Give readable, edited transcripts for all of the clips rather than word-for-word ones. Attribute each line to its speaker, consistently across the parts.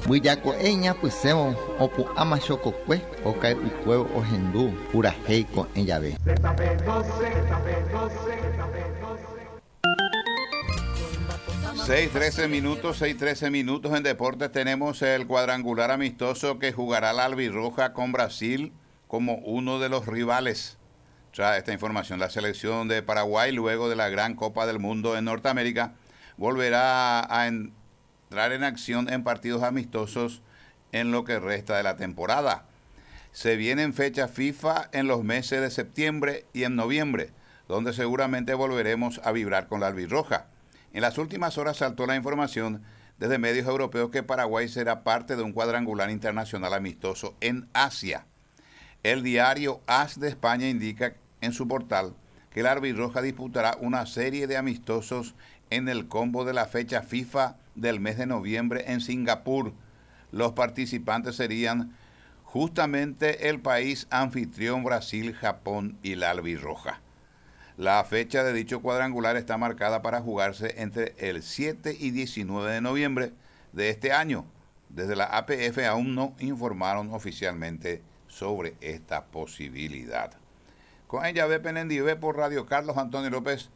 Speaker 1: Mbyjako'ẽ iñapysẽvo opu'ãma chokokue okay'ukuévo ohendu purahéi ko'ẽ jave.
Speaker 2: 6:13 minutos, 6:13 minutos en deportes tenemos el cuadrangular amistoso que jugará la Albirroja con Brasil como uno de los rivales. Trae esta información la selección de Paraguay luego de la Gran Copa del Mundo en Norteamérica volverá a entrar en acción en partidos amistosos en lo que resta de la temporada. Se vienen fechas FIFA en los meses de septiembre y en noviembre, donde seguramente volveremos a vibrar con la albirroja. En las últimas horas saltó la información desde medios europeos que Paraguay será parte de un cuadrangular internacional amistoso en Asia. El diario AS de España indica en su portal que la albirroja disputará una serie de amistosos en el combo de la fecha FIFA del mes de noviembre en Singapur. Los participantes serían justamente el país anfitrión Brasil, Japón y la albirroja. La fecha de dicho cuadrangular está marcada para jugarse entre el 7 y 19 de noviembre de este año. Desde la APF aún no informaron oficialmente sobre esta posibilidad. Con ella B por Radio Carlos Antonio López,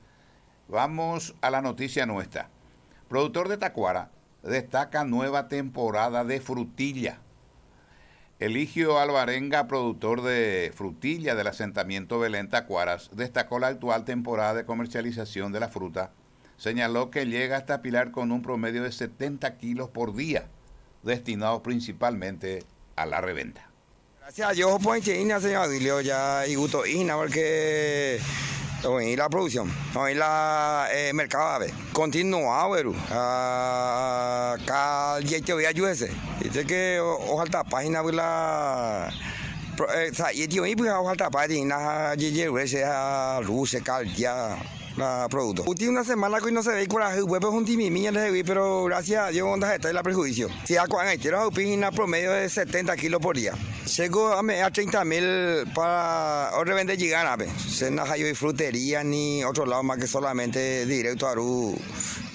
Speaker 2: vamos a la noticia nuestra. Productor de Tacuara destaca nueva temporada de frutilla. Eligio Alvarenga, productor de frutilla del asentamiento Belén Tacuaras, destacó la actual temporada de comercialización de la fruta. Señaló que llega hasta Pilar con un promedio de 70 kilos por día, destinado principalmente a la reventa.
Speaker 3: Gracias a Dios, pues, señor Adilio, ya y gusto, porque y la producción, y la eh, mercado a ver, continúa, pero acá ya te voy a ayudar, dice que ojalá página la y tío, y pues ojalá página, a luces, caldia la producto. Última una semana que no se ve coraje, huevo es un timimiña pero gracias a Dios onda está la perjuicio. Si a cuando hay promedio de 70 kilos por día. Llego a 30 mil para revender llegar a Se no hay frutería ni otro lado más que solamente directo a Aru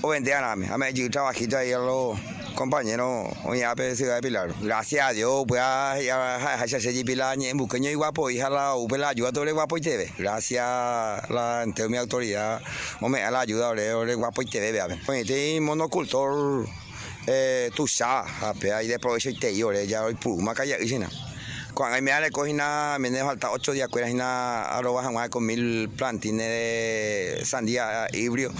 Speaker 3: o vender a mí. A mí yo trabajito ahí a los compañeros hoy a Ciudad de Pilar. Gracias a Dios, pues a a Pilar en buqueño y guapo, hija la UP la ayuda todo el guapo y TV. Gracias a la ante mi autoridad, me la ayuda ore guapo y TV, vea. Este monocultor eh tú sabes, ahí de provecho y te ya hoy puma calla y Cuando me recogina, me falta 8 días, cuera arroba con mil plantines de sandía híbrido,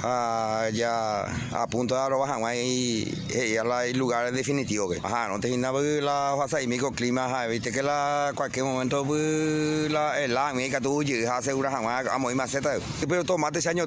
Speaker 3: ah, ya a punto de arroba y ya el lugar definitivo que. Ajá, no te la pasa y microclima, viste que la cualquier momento pues, la el la mi que tú asegura a muy maceta. Pero tomate ese año